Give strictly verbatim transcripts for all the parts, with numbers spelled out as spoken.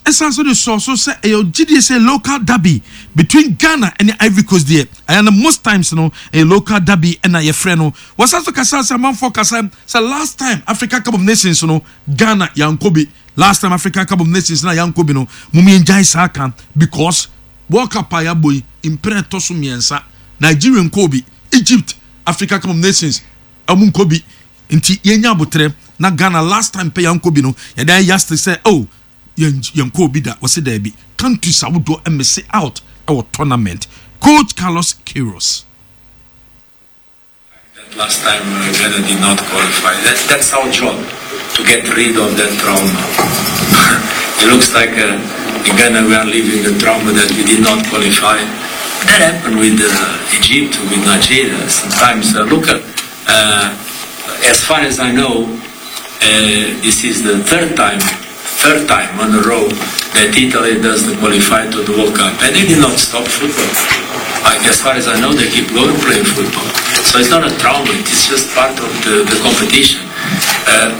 Ɛsan so de sɔɔ so sɛ ɛyɛ ogyidie sɛ local derby between Ghana ɛne Ivory Coast deɛ, ɛyɛ no most times no ɛyɛ local derby ɛna yɛfrɛ no. Wɔsan so kasa sɛ amanfoɔ kasa sɛ last time Africa Cup of Nations no, Ghana yankɔ bi. Last time Africa Cup of Nations na yankɔ bi no, mum yɛn gyae saa kan, because World Cup a yɛabɔ yi mpere ɛtɔ so mmiɛnsa, Nigeria nkɔ bi, Egypt Africa Cup of Nations ɔmo nkɔ bi, nti yɛnya abotrɛ na Ghana last time pɛ yankɔ bi no, yɛde ayɛ yastic sɛ, oh, yɛn yɛn kɔ bi da. Wɔsi daabi, countries ahodoɔ ɛmiss out ɛwɔ tournament. Coach Carlos Queiroz. That last time uh, Ghana did not qualify. That, that's our job, to get rid of that trauma. It looks like uh, in Ghana we are living the trauma that we did not qualify. That happened with uh, Egypt, with Nigeria. Sometimes, uh, look at, uh, as far as I know, uh, this is the third time, third time on a row that Italy doesn't qualify to the World Cup, and they did not stop football. Like, as far as I know, they keep going playing football. So it's not a trauma; it's just part of the, the competition. Uh,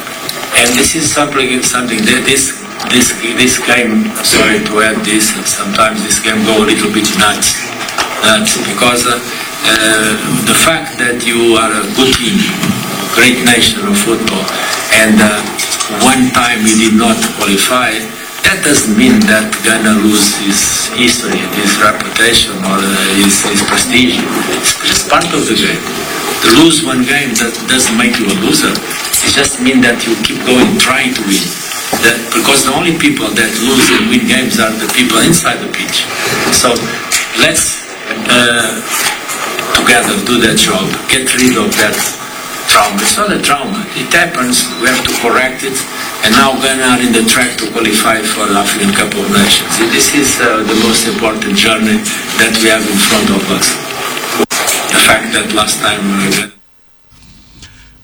and this is something, something that this this this game. Sorry to add this. Sometimes this game go a little bit nuts, nuts because uh, uh, the fact that you are a good team, great nation of football, and uh, one time you did not qualify, that doesn't mean that Ghana lose his history, his reputation, or uh, his, his prestige. It's just part of the game. To lose one game, that doesn't make you a loser. It just means that you keep going, trying to win. That, because the only people that lose and win games are the people inside the pitch. So let's uh, together do that job. Get rid of that trauma. It's not a trauma. It happens. We have to correct it. And now Ghana are in the track to qualify for the African Cup of Nations. This is uh, the most important journey that we have in front of us. The fact that last time uh,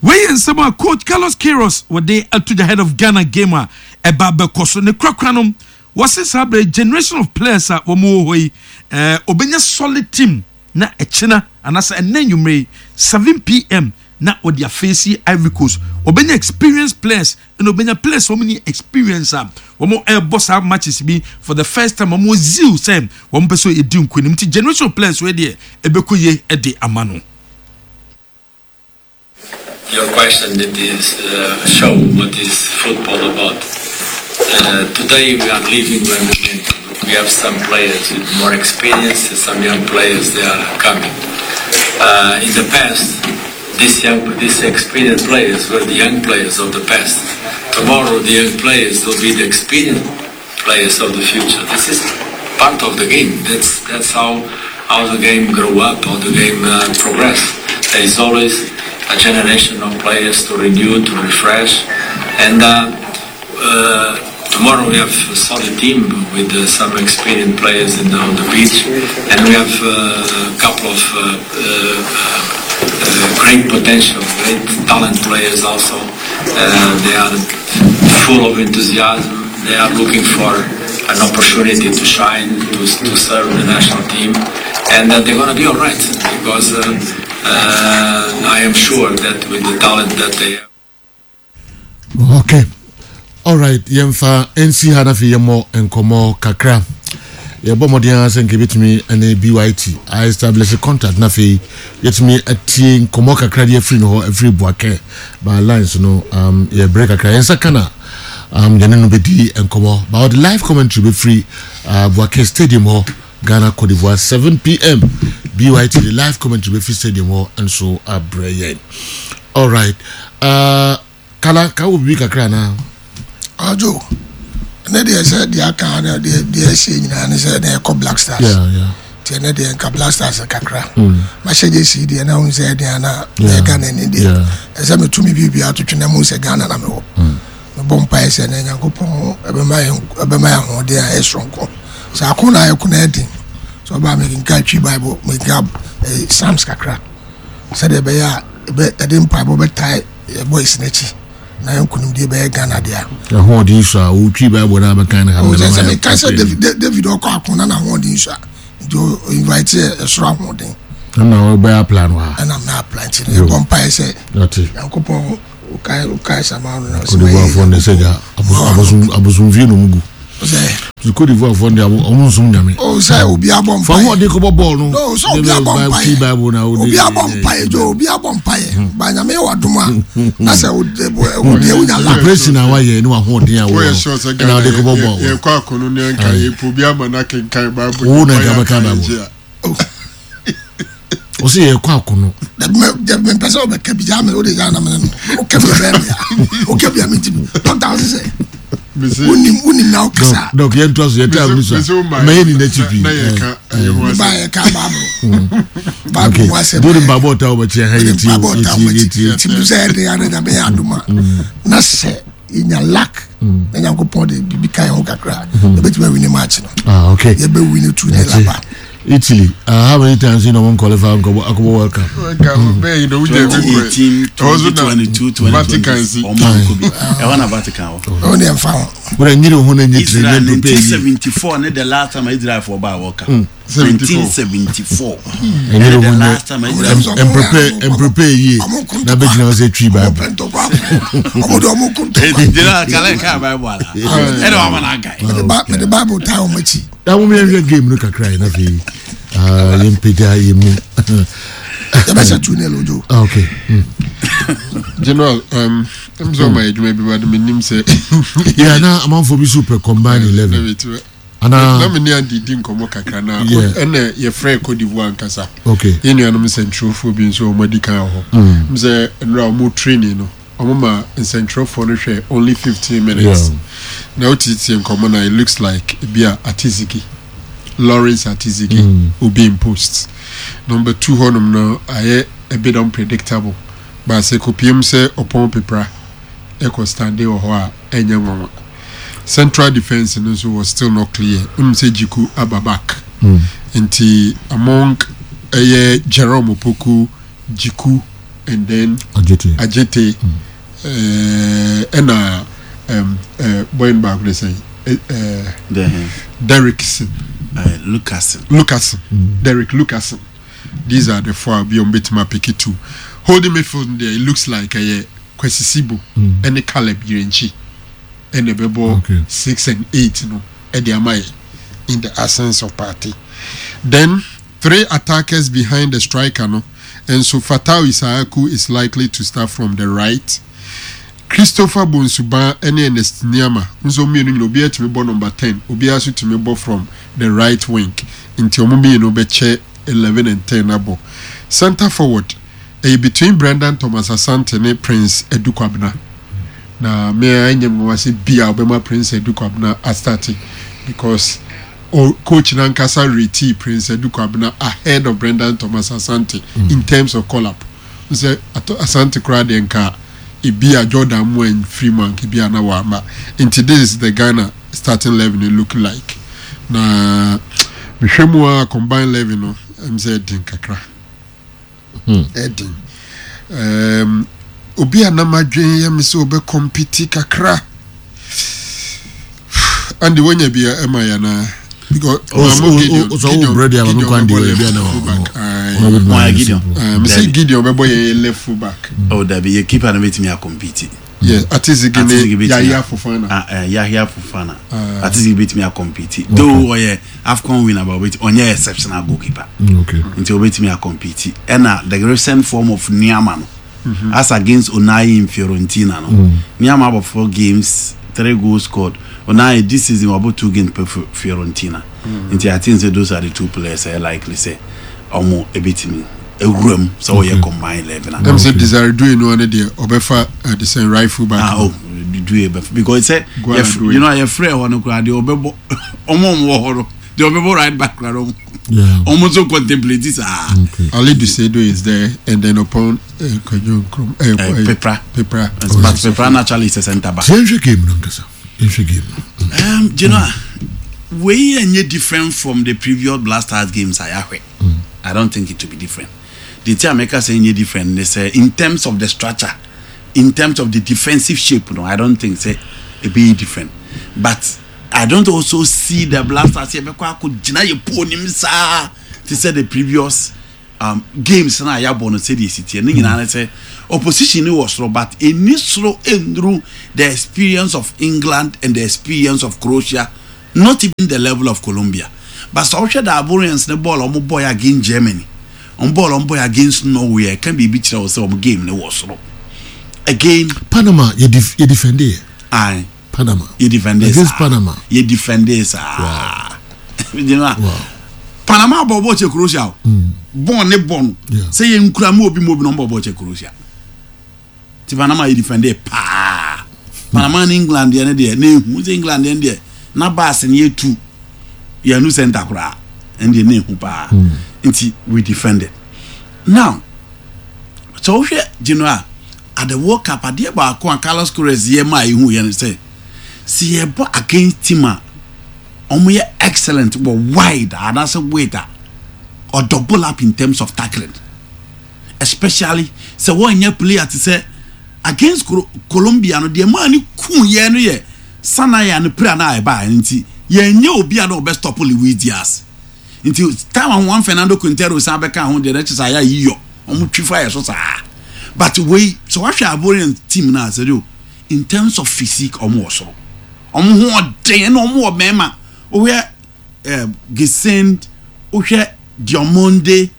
Wei yɛ nsɛm a Coach Carlos Queiroz wɔde ato the head of Ghana game a ɛba bɛkɔ so ne korakora no. Wɔse saa bere generation of players a wɔn wɔ hɔ yi, ɛɛ obɛnya solid team na ɛkyina anaasɛ ɛnɛ nnwumire yi seven P M na wɔde aface Ivory Coast. Wɔbɛnya experienced players ɛna wɔbɛnya players wɔn ni experience a wɔn ɛrebɔ saa matches bi for the first time. Wɔn zeal sɛ wɔn pɛ so edi nkonim, nti generation of players wei deɛ, ɛbɛkɔ yie ɛde ama no. Your question that is uh, show what is football about. Uh, today we are living one momentum. We have some players with more experience, some young players, they are coming. Uh, in the past, these young, these experienced players were the young players of the past. Tomorrow, the young players will be the experienced players of the future. This is part of the game. That's that's how how the game grow up, how the game uh, progress. There is always a generation of players to renew, to refresh, and uh, uh, tomorrow we have a solid team with uh, some experienced players in the, on the pitch, and we have uh, a couple of uh, uh, uh, great potential, great talent players also. Uh, they are full of enthusiasm. They are looking for an opportunity to shine, to, to serve the national team, and uh, they're going to be all right because uh, uh, I am sure that with the talent that they have. Okay, alright, yɛmfa nsi ha na afei yɛmmɔ nkɔmmɔ kakra. Yɛbɔ mmɔden ara sɛ nka yɛbɛtumi ne B Y T a establish contact na afei yɛtumi atie nkɔmmɔ kakra de afiri no hɔ, afiri Bouaké by lines no. um, yɛbrɛ kakra, yɛnsa ka na um, yɛne no bɛdi nkɔmmɔ ba ɔde live commentary bɛfiri uh, Bouaké Stadium hɔ. Ghana Cote d'Ivoire, seven P M, B Y T de live commentary bɛfiri stadium hɔ nso abrɛ yɛn. Alright, uh, kala ka wɔ biribi kakra anaa? Ɔdwo ne deɛ, sɛ deɛ aka ne deɛ, deɛ ɛhyɛ nyinaa ne sɛ ne ɛkɔ Black Stars. yeah, yeah. Nti ɛnɛ deɛ, nka Black Stars kakra mahyɛ gye si deɛ na wohu sɛ ɛdeɛ ana Yeah. yɛ Ghana ni deɛ, Yeah. ɛsɛ metumi biribia atotwe na mu sɛ Ghana na mewɔ. Mebɔ mpaeɛ sɛ ne Nyankopɔn ɛbɛma yɛn ɛbɛma yɛn ahoɔden a ɛyɛ soronko sɛ ako na ayɛ ko na ɛden sɛ ɔbaa mekenka Twi Bible, mekenka eh, Psalms kakra sɛdeɛ ɛbɛyɛ a ɛbɛ ɛde mpaebɔ bɛtae yɛ boys n'akyi na yɛn nkonimdie bɛyɛ Ghana deɛ. Ahoɔden so a wotwi Bible no abɛkan no ha. O sɛ sɛ meka sɛ David David ɔkɔ ako na n'ahoɔden so a, nti o o invite yɛ ɛsoro ahoɔden. Ɛna wɔbɛyɛ apply no ha. Ɛna mɛ apply, nti no yɛbɔ mpaeɛ sɛ ɔte Nyankopɔn okae okae sama no na Cote d'Ivoirefoɔ ne sɛ gya abosomfie no mu gu. Sɛ Ti Cote d'Ivoire fɔ ndi ɔmo nsum Nyame. O sɛ obi abɔ Fa mpaeɛ. ho ɔde kɔbɔ bɔɔl no. No, sɛ obi abɔ Twi mpaeɛ. Bible na o de. Obi abɔ mpaeɛ jo, obi abɔ mpaeɛ ba Nyame yɛ wadom a na sɛ wo wo deɛ wonya luck. Operation a wayɛ ne wahoɔden a Woyɛ wɔ sure sɛ ɛna Ghana ɔde kɔbɔ yɛ- bɔɔl. yɛkɔ akono ne nka yɛpɛ obi ama no akenkan Bible. Wo na Nipa nka yɛ bɛka aka Bible. yɛgye a. Ɔsɛ yɛkɔ akono. Dabi, mɛ dabi, mepɛ sɛ wobɛka bi gyaa me, wode gyaa na mene no woka bi bɛɛ mea, woka bi a mentimi dɔkta wo sɛ sɛ Mese- wonim wonim na wokasa. Dɔk, yɛn to so yɛ taa mu so mese wo ma- a mɛ yɛ ni n'akyi pii. na yɛka ɛyɛ ho asɛm. Ba yɛka Bible Bible Okay, mu asɛm. do de mpaebɔ ɔta wɔ bɛkyɛ ha, yɛ tie mpaebɔ yɛ ɔta tie wɔ yɛ tie. akyi nti sɛ ɛde ade Nyame yɛ adom a na sɛ yɛnya luck na Nyankopɔn de biribi ka yɛn ho kakra a, yɛbɛtumi awin match no. Ah, okay. Yɛbɛwin two nil aba. Italy, uh, how many times you know one qualify akɔbɔ akɔbɔ World Cup? Nka bɛyɛ yi na wogya bi kɔ. twenty eighteen, Ɛhɔ so na twenty twenty-two, Vatican si. twenty twenty ɔmo ankɔ bi. Ɛhɔ na Vatican wɔ. Ɔno deɛ mfa ho. Wọ́n nyere ho na nye tiri Israel nye prepare yie. nineteen seventy-four ne the last time Israel fo ba World Cup. seventy-four. nineteen seventy-four Ɛnyere ɛne ho the nye last time Israel. Mprepare mprepare yie na bɛ gyina hɔ sɛ Twi Ɔmo Bible. pɛ ntɔkwa, ɔmo de ɔmo ko ntɔkwa. Gyina kala ka Bible ala ɛna wama na anka. Mede Bi- mede Bible taa ɔmo akyi. Na mo yɛn hwɛ game no kakra yi na afei ah, yɛn mpagya yɛn mu. Yɛbɛhyɛ two nil, ojo. Ah, okay. Mm. General, um, ɛm sɛ ɔma yɛ adwuma bi ba de menim sɛ Yeah, na amanfo bi so pɛ combine eleven. Na Ana me ne Andi di nkɔmmɔ kakra na Yeah. ɛna yɛfrɛ Cote d'Ivoire ankasa. Okay. Yɛn nuanom nsɛntwerɛfoɔ bi nso ɔmo adi kan wɔ hɔ m sɛ nnora ɔmo training no, ɔmo ma nsɛntwerɛfoɔ no hwɛ only fifteen minutes. Yeah. Na wotietie nkɔmmɔ na it looks like ebi a Atizigi, Lawrence Atizigi Mm. will be in post number two hɔnom no, ayɛ a bit unpredictable, but sɛ kopiem sɛ ɔpɔn pepra ɛkɔ stande wɔ hɔ a, ɛnyɛ nwanwa. Central defence no nso was still not clear. Wonim sɛ Jiku aba back. Mm. Nti among ɛyɛ Jerome Opoku, Jiku and then Ajete. Ajete, ɛɛ, ɛna um, uh, boy no baako de sɛn, uh, Then Derrickson. uh, Lucas. Lucasen, Derek Lucasen. These are the four bi ɔmo bɛtumi apick two. Holding midfield there, it looks like ɛyɛ Kwesi Sibo ɛne Caleb Yirenkyi ɛna ɛbɛbɔ Okay. six and eight no ɛde ama yɛ in the absence of Partey. Then three attackers behind the striker no, and so Fatau Issahaku is likely to start from the right. Christopher Bonsuba ɛne Ernest Niama nso mmienu nyina, obiara tumi bɔ number ten, obiara nso tumi bɔ from the right wing, nti wɔn mmienu bɛkyɛ eleven and ten abɔ. Center forward ɛyɛ between Brendan Thomas Asante ne Prince Edukwabena, na mmea ɛnyɛ mu wase bia ɔbɛma Prince Edukwabena astart because o coach nankasa rate Prince Edukwabena ahead of Brendan Thomas Asante mm. in terms of call up. Sɛ Asante koraa deɛ, nka ebi a Jordan mu ɛnfiri mu anka ebi a na wama. Nti this is the Ghana starting eleven it look like. Na mehwɛ mu a, combine eleven no, ɛm sɛ ɛden kakra, ɛden. um, obi a nam adwene yɛ me sɛ ɔbɛ compete kakra ande wonya bi ɛma yɛ anaa? Because O o sọ wo bread ya ma mi kwan di o ebi ana Why Gideon? Mr Gideon bɛbɔ yɛ left full back. Oh, dabi, yɛ keeper no bɛtumi acompete. Yes, Atizigi ne Yahya Fofana. Ah, eh, Yahya Fofana. Atizigi bɛtumi acompete though ɔyɛ AFCON winner, but ɔbɛtumi, ɔnyɛ exceptional goalkeeper. Okay. Nti ɔbɛtumi acompete. Ɛna the recent form of Niama no mm-hmm. as against Onai in Fiorentina no mm. Niama abɔ four games, three goals scored. Onai this season wabɔ two games per Fiorentina. mm. Nti I think say those are the two players ɛ likely sɛ ɔmo ebɛtumi ewura mu sɛ ɔyɛ combine eleven. Ɛm sɛ Desire Doue no ane deɛ ɔbɛfa the same right full back. Ah, oh, Doue bɛfa because sɛ you know yɛfrɛ hɔ no koraa deɛ ɔbɛbɔ, ɔmo ɔmo wɔ hɔ no deɛ ɔbɛbɔ right back koraa no, ɔmo nso contemplate saa. Alidu Seidu is there and then upon uh, Kwadwo Nkrumah. Uh, uh, Pepra. Pepra. But Pepra naturally is a centre back. Yɛn hwɛ game no nkasa, yɛn hwɛ game no. Um, you know, wei ɛnyɛ different from the previous Black Stars games a yɛahwɛ. I don't think it will be different. The thing America saying ɛnyɛ different, they say in terms of the structure, in terms of the defensive shape, no, I don't think say it be different. But I don't also see the Black Stars here bɛkɔ akɔ gyina yɛ pool nim saa te sɛ the previous um, games na yɛabɔ no. Sɛdeɛ esi teɛ ne nyinaa ne sɛ opposition ni wɔ soro, but eni soro enduru the experience of England and the experience of Croatia. Not even the level of Colombia. But sɛ ɔhwɛ the Ivorians ne ball ɔmo bɔ against Germany, ɔmo ball ɔmo bɔ against Norway, ɛka biribi kyerɛ wɔ sɛ ɔmo game ne wɔ soro. Again, Panama yɛ def yɛ defend yɛ. Aye. Panama. Yɛ defend against Panama. Yɛ defend saa. You know, Wow. Panama bɔ bɔ kyɛ Croatia o. Bɔɔl ne bɔ no. Yeah. Sɛ yɛ nkura mu obi mu obi na ɔmo bɔ bɔ kyɛ Croatia. Ti Panama yɛ defend paa. Panama ne England deɛ ne deɛ ne ehu sɛ England deɛ ne deɛ na baasi ne yɛ tu yɛn nu center koraa ɛne deɛ ne ehu paa. Nti we defended. Now sɛ wohwɛ general at the World Cup, adeɛ baako a Carlos Queiroz yɛ maa ehu yɛ no sɛ sɛ yɛbɔ against team a ɔmo yɛ excellent wɔ wide anaasɛ width a, or double up in terms of tackling, especially sɛ wɔnyɛ player te sɛ against Colo Colombia no deɛ maa ne kun yɛ no yɛ Sanaya no pira na ɛbaa. Nti yɛnyɛ obi a na ɔbɛ stop Luis Diaz. Nti time a Juan Fernando Quintero san bɛka ho deɛ, n'akyi sɛ ayɛ ayiyɔ ɔmo twi fa yɛ so saa. But wei sɛ wahwɛ Ivorian team na asɛ de in terms of physique, ɔmo wɔ soro, ɔmo ho ɔden ɛna ɔmo wɔ mɛɛma. Wohwɛ ɛɛ Guessand, wohwɛ Diomande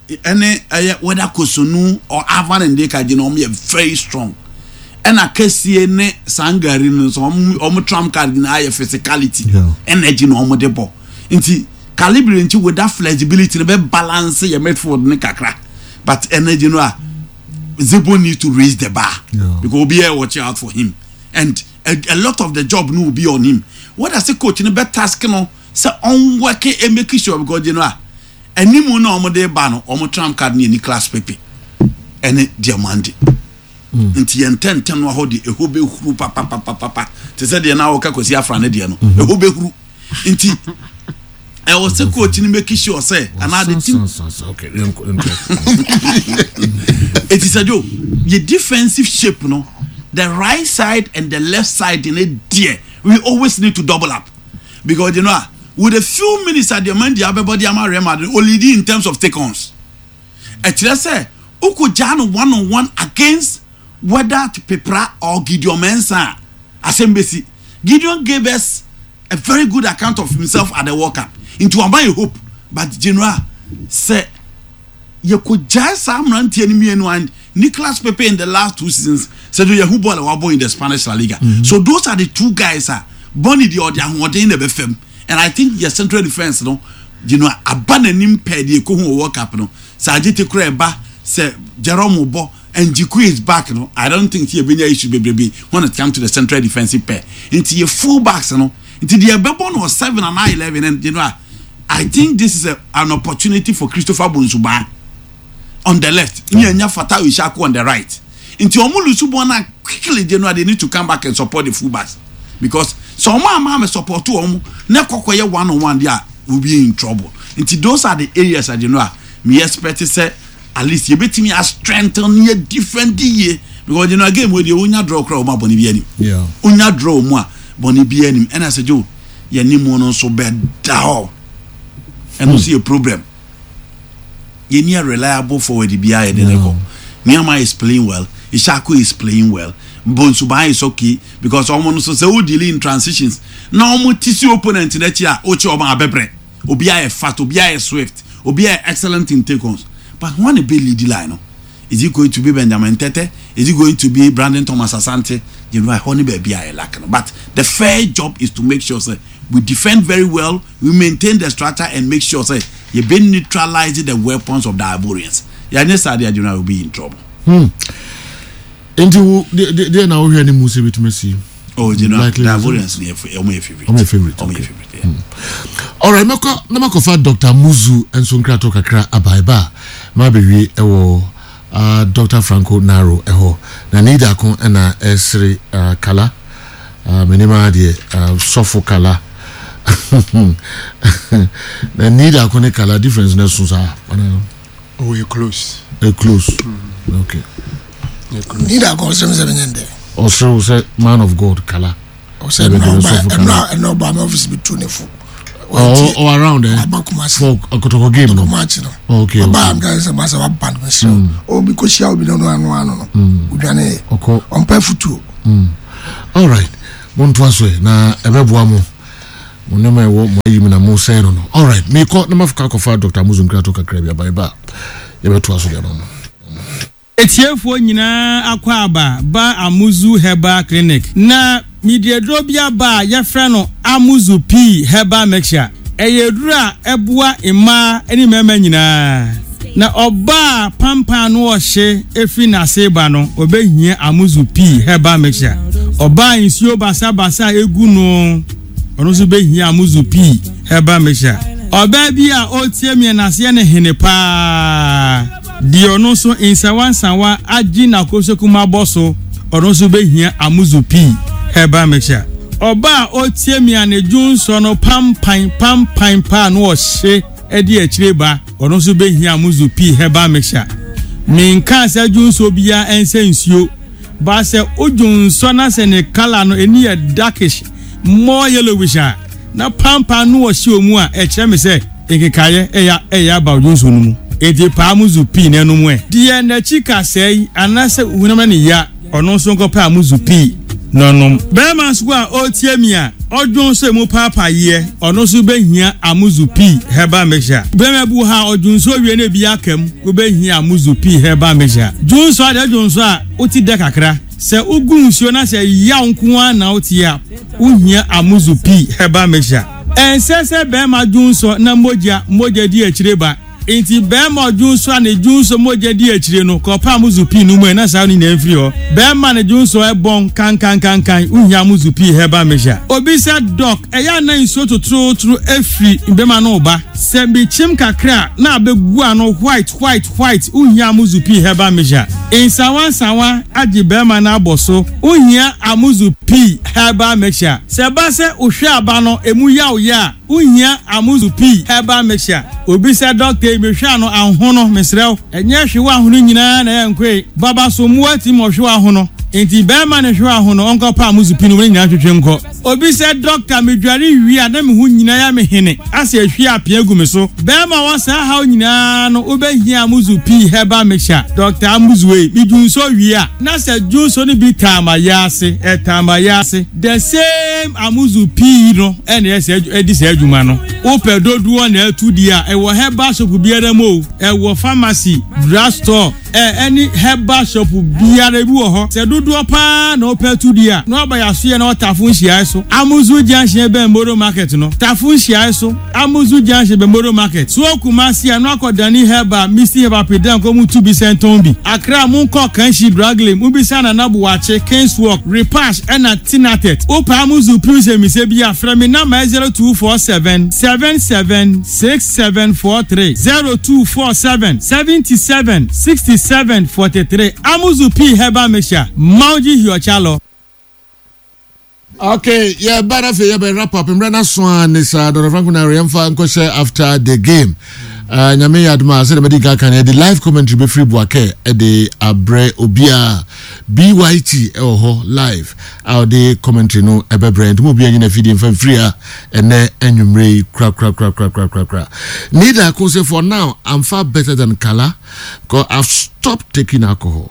ɛne ɛyɛ whether Kossounou or Alvan Ndeka gyina, ɔmo yɛ very strong. Ɛna Kɛseɛ ne Sangare no nso, ɔmo ɔmo trump card nyinaa ayɛ physicality. Yeah. Energy na ɔmo de bɔ. Nti Calibre nti with that flexibility no bɛ balance yɛ midfield ne kakra. But energy no a Zebo need to raise the bar. Yeah. Because obi yɛ watch out for him and a, a lot of the job no will be on him. What does the coach no bɛ task no sɛ ɔn work e make sure, because you know a animu na ɔmo de ba no, ɔmo trump card ne yɛ Nicolas Pepe ɛne Diomande. Nti yɛn ntɛntɛn no hɔ de ɛhɔ bɛhuru papapapapa te sɛ deɛ na wɔka Kwasi Afra ne deɛ no, ɛhɔ bɛhuru. Nti ɛwɔ sɛ coach no make sure sɛ anaa the team San, san, san, okay, yɛnkɔ- yɛnkɔ. Eti sɛ jo yɛ defensive shape no, the right side and the left side ne deɛ, we always need to double up because you know ah, with a few minutes at the man di abɛbɔ di ama Real Madrid olidi in terms of take-ons, ɛkyerɛ sɛ okò gyaa no one on one against whether Pepra or Gideon Mensah a, asɛm besi. Gideon gave us a very good account of himself at the World Cup, nti wama yɛ hope. But general sɛ yɛkɔ gyae saa mmeranteɛ no mmienu and Nicolas Pepe in the last two seasons, sɛ de yɛhu ball a wabɔ in the Spanish La Liga mm -hmm. So those are the two guys a bɔnni deɛ ɔde ahoɔden na ɛbɛfam. And I think yɛ central defence no, you know aba n'anim pɛɛ deɛ ekohu wɔ World Cup no sɛ agye te kora ɛba sɛ Jerome bɔ and Jiku is back no, I don't think sɛ yɛbɛnya issue bebrebe when it come to the central defensive pair. Nti yɛ full backs no, nti deɛ ɛbɛbɔ no wɔ seven and eleven. And you know I think this is a, an opportunity for Christopher Bonsu Baah on the left ní ẹ̀nya Fatawu Issahaku on the right. Nti ọmọ lose ball na quickly, they know they need to come back and support the full backs because sɛ ɔmo ama ama support ɔmo ne kɔkɔ yɛ one on one there, will be in trouble. Nti those are the areas that you know a me expect sɛ at least yɛbɛtumi a strengthen yɛ different yie because you know again wey deɛ onya draw kora ɔmo abɔne bi anim. Yeah. Onya draw mu a bɔne bi anim. Ɛna sɛ jo yɛn nimu no nso bɛ da hɔ, ɛno nso yɛ problem. Yɛn ni a reliable forward biara yɛde ne kɔ. Nneɛma is playing well, Issahaku is playing well, Bonsu Baah is okay because ɔmo no so sɛ o deal in transitions na ɔmo ti si opponent n'akyi a o kye ɔmo abɛbrɛ. Obiara yɛ fast, obiara yɛ swift, obiara yɛ excellent in take-ons. But wɔn na be lead line no, is it going to be Benjamin Tete? Is it going to be Brandon Thomas Asante? You know ɛhɔ ne baabi a yɛ lack no. But the fair job is to make sure say we defend very well, we maintain the structure and make sure say you be neutralize the weapons of the Ivorians. Yɛanyɛ saa deɛ, adwuma will be in trouble. Nti wo deɛ deɛ- deɛ na wohwɛ ne mu sɛ bɛtumi asi? Oh, you know Likely the result. Ivorians no yɛ ɔmo yɛ favourite. Ɔmo yɛ favourite, Ɔmo yɛ okay. favourite, yeah. Alright, mɛkɔ na makɔfa Doctor Muzu nso nkrato kakra aba. Ɛba a ma bɛwie ɛwɔ uh, Doctor Franco Naro ɛhɔ na ne dako ɛna ɛsere uh, kala uh, menim adeɛ uh, sɔfo kala na ne dako ne kala difference no ɛso saa ana? Oh, you're close. Ɛ close, okay. You're close. Ni da kɔ sɛm sɛ menyɛ ndɛ. Ɔsere wo sɛ man of God kala. Ɔsɛ Ɛbɛ ɛnna de ɔba sɔfo kala. ɛnna ɛnna ɔba ama office bi tu ne fo. Or, or around eh? Aba Kumasi. For Kotoko game no? Match no. Okay, ɔba okay. am sɛ masa waba no, mesrɛ wo, obi kɔhyia obi no no ano ano no odwane yɛ. Ɔkɔ. Ɔmpɛ futuo. Alright, montoa so ɛ na ɛbɛboa mo. Mo nneɛma ɛwɔ mo ayi mu na mo sɛn no no. Alright, mekɔ na mafka akɔfa Doctor Amuzu nkrato kakra bi aba. Ɛba a yɛbɛtoa so de ama mo. Etiefoɔ nyinaa akɔ aba ba Amuzu Herbal Clinic. Na mede aduro bi aba a yɛfrɛ no Amuzu Pii Herbal Mixture. Ɛyɛ aduro a ɛboa mmaa ne mmarima nyinaa. Na ɔbaa a pampan no ɔhye firi n'ase ba no, ɔbɛhia Amuzu Pii Herbal Mixture. Ɔbaa nsuo basabasa a ɛgu no, ɔno nso bɛhia Amuzu Pii Herbal Mixture. Ɔbaa bi a ɔretie me n'aseɛ ne hene paa, deɛ ɔno nso nsawansawa agye n'akosokum abɔ so, ɔno nso bɛhia Amuzu Pii Herbal Mixture. Ɔbaa a ɔretie me a ne dwonsɔ no pampan pampan paa no ɔhye de akyire ba, ɔno nso bɛhia Amuzu Pii Herbal Mixture. Menkaa sɛ dwonsɔ biara ɛnsɛ nsuo, ba sɛ wodwonsɔ na sɛ ne colour no ani yɛ darkish, more yellowish a, na pampan no ɔhye wɔ mu a, ɛkyerɛ me sɛ nkekaeɛ ɛyɛ ɛyɛ aba dwonsɔ no mu. Enti paa Amuzu Pii na ɛnom ɛ. Deɛ n'akyi kasɛe anaasɛ honam ne ya, ɔno nso nkɔpɛ Amuzu Pii na ɔnom. Bɛrima nso a ɔretie mi a ɔdwonsɔ emu paapaeɛ, ɔno nso bɛhia Amuzu Pii Herbal Mixture. Bɛrima bi wɔ ha a ɔdwonsɔ wie na ebi aka mu, wobɛhia Amuzu Pii Herbal Mixture. Dwonsɔ adeɛ dwonsɔ a wote dɛ kakra. Sɛ wogu nsuo na sɛ yaw nko ara na wote a, wohia Amuzu Pii Herbal Mixture. Ɛnsɛ sɛ bɛrima dwonsɔ na mogya mogya di akyire ba. Nti bɛrima ɔdwonsɔ a ne dwonsɔ mogya di akyire no, kɔpɛ Amuzu Pii no mu ɛ na saa no nyinaa mfiri hɔ. Bɛrima ne dwonsɔ ɛbɔn kankankankan, wohia Amuzu Pii Herbal Mixture. Obi sɛ, Doc, ɛyɛ ana nsuo totorotoro efiri bɛrima no ba? Sɛ mekyim kakra na abɛgu ano white white white, wohia Amuzu Pii Herbal Mixture. Nsawa nsawa agye bɛrima no abɔ so, wohia Amuzu Pii Herbal Mixture. Sɛ ba sɛ wohwɛ aba no emu yaw yɛ a, wohia Amuzu Pii Herbal Mixture. Obi sɛ, doctor yi, mehwɛ ano ahono, mesrɛ wo, ɛnyɛ hwe wɔ ahono nyinaa na ɛyɛ nkoe. Baba so mmoa ti ma ɔhwe wɔ ahono. Nti bɛrima ne hwe wɔ ahono, ɔnkɔpa Amuzu Pii no wɔn nyinaa twetwe nkɔ. Obi sɛ, doctor, medware wie a na me ho nyinaa yɛ me hene, asɛ ehwie apea gu me so. Bɛrima wɔ saa haw nyinaa no, wobɛhia Amuzu Pii Herbal Mixture. Doctor Amuzu ei, medwonsɔ wie a na sɛ dwonsɔ no bi taa ma yɛ ase, ɛtaa ma yɛ ase. The same Amuzu Pii no ɛna ɛsɛ ɛdi saa adwuma no. Wopɛ dodoɔ na ɛtu di a, ɛwɔ herbal shop biara mu o, ɛwɔ pharmacy, drug store, ɛ ɛne herbal shop biara bi wɔ hɔ. Sɛ dodoɔ paa na wopɛ tu di a, na waba yɛasoyɛ na wɔtafo nhyiae so. Amuzu Junction bɛn Moro Market no. Tafo nhyiae so. Amuzu Junction bɛn Moro Market. So Kumasi a na wakɔ Dani Herbal, Misty Herbal Pedan kɔ mu tu bi sɛntɔn bi. Accra mu nkɔ Kanshi Drug Lane, mu bisa Nana Buakye, Kings Walk, Repash ɛna Tinatet. Wopɛ Amuzu Pii sɛ mise bi a, frɛ me number zero two four seven seven seven six seven four three, zero two four seven seventy seven sixty seven forty three. Amuzu Pii Herbal Mixture. Mauji Hiochalo. Okay, yɛba no afei yɛbɛ wrap up mmerɛ no so a ne saa Dɔdɔ Franco na yɛmfa nkɔhyɛ after the game. uh, Nyame yɛ adom a, sɛdeɛ mɛdi nka ka no, yɛde live commentary bɛfiri Boakɛ ɛde abrɛ obiaa. B Y T ɛwɔ hɔ live a ɔde commentary no ɛbɛbrɛ, nti mo obiaa nyina fidie mfa mfiri a ɛnɛ anwummerɛ yi korakorakorakorakorakora. Neither ko sɛ for now I'm far better than Kala because I've stopped taking alcohol.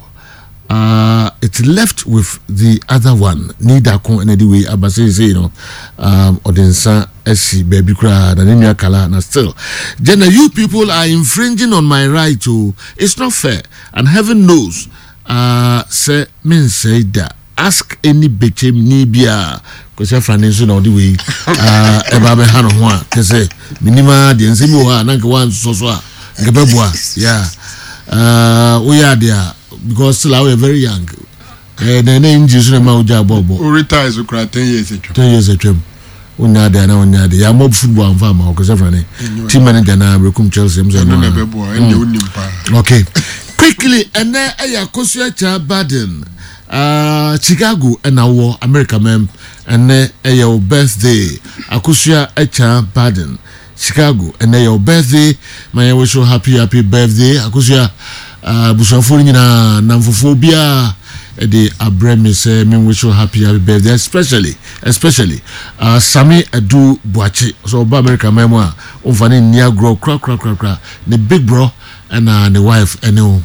uh, it's left with the other one. Neither ko ɛna de wei aba seesei no, um, ɔde nsa asi baabi koraa na ne nua Kala na still Jenna, you people are infringing on my right o. It's not fair and heaven knows uh, sɛ mensɛe da. Ask any Bɛkyɛm ni biaa. Kwasi Afrane nso na ɔde wei uh, ɛba bɛha no ho a kɛ sɛ menim a deɛ nsɛm bi wɔ hɔ a na nka woansosɔ so a nka bɛboa. Yeah, uh, woyɛ adeɛ a because still woyɛ very young. eh, na ɛnɛ ngye so na ma wogya bɔɔbɔ. O retire so kura ten years atwam. Ten years atwam, wonya adeɛ na wonya adeɛ yɛamɔ football amfa ama wo. Kwasi Afrane, team manager na Berekum Chelsea m sɛ ɛno na ɛbɛboa, ɛnna onim paa. Okay, quickly, ɛnɛ ɛyɛ Akosua Kya Baden, uh, Chicago ɛna wɔ America mɛm. Ɛnɛ ɛyɛ wo birthday, Akosua Kya Baden, Chicago. Ɛnɛ ɛyɛ wo birthday, ma yɛn wish you happy happy birthday, Akosua. Abusuafoɔ no nyinaa, namfofoɔ biara ɛde abrɛ me sɛ me wish you happy happy birthday, especially especially uh, Sami Adu Buakye so ɔba America man mu a ɔmfa ne nni agorɔ korakorakorakora, ne big bro ɛna ne wife ɛne wo.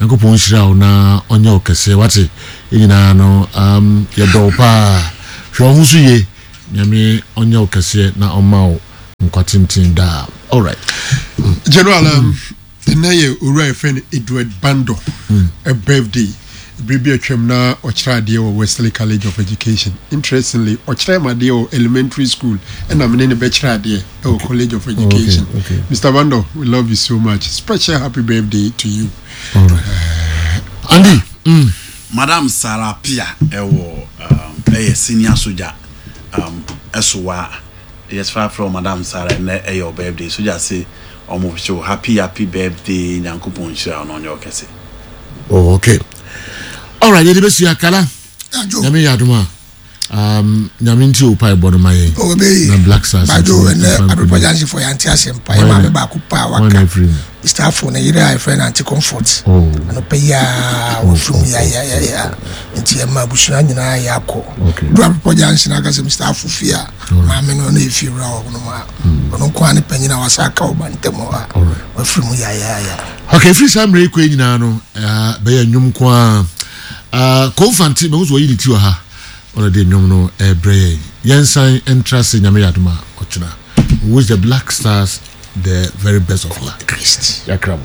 Nyankopɔn nhyira wo na ɔnyɛ wo kɛseɛ wate. Yɛn nyinaa no um, yɛdɔ wo paa. Hwɛ wo ho so yie. Nyame ɔnyɛ wo kɛseɛ na ɔma wo nkwa tenten daa. Alright. General, um, ɛnɛ yɛ owura yɛfrɛ no Edward Bando a birthday. Bere bi atwam na ɔkyerɛ adeɛ wɔ Wesley College of Education. Interestingly, ɔkyerɛ m adeɛ wɔ elementary school, ɛna mene ne bɛkyerɛ adeɛ ɛwɔ College of Education. Okay, okay. Mister Bando, we love you so much. Special happy birthday to you. Alright, Andy mm. Madam Sarah Pia ɛwɔ um, ɛyɛ senior soldier um, ɛsowa yɛsfa frɛ Madam Sarah. Ɛnɛ ɛyɛ ɔ birthday. Soldier se ɔmo hyɛ happy happy birthday. Nyankopɔn nhyira ɔno, ɔnyɛ ɔkɛse. Oh, okay, alright, yɛde bɛsi akala. Ajo. Nyame yɛ adom a, um, Nyame nti o pae bɔ no ma yɛn Obe. na Black Stars Bajo. nso Ɛnɛ mfa Abrepɔ nkonim. Junction fo yɛante ase mpa yɛ maame baako pa a Wɔn waka na afiri mu. Mister Afo ne yere a yɛfrɛ no Auntie Comfort. Oh. Anɔpɛ yi a wɔfiri mu yayayaya, nti ɛma abusua nyinaa yɛ akɔ Okay. du Abrepɔ Junction aka sɛ Mister Afo fie a maame no ɔno yɛ fie wura wɔ no mu a ɔno nko a ne panyin a wasa aka ɔba ntɛm hɔ a Alright. wafiri mu yayaya. Okay, firi saa mmerɛ yi kɔ yi nyinaa no, uh, bɛyɛ nnwom ko a uh, Kɔmfante mahu sɛ wɔyi ne ti wɔ ha, ɔno de nnwom no ɛbrɛ yɛn. Yɛnsan ntra se Nyame yɛ adom a ɔkyena. We wish the Black Stars the very best of luck. Christ. Yɛakra mo.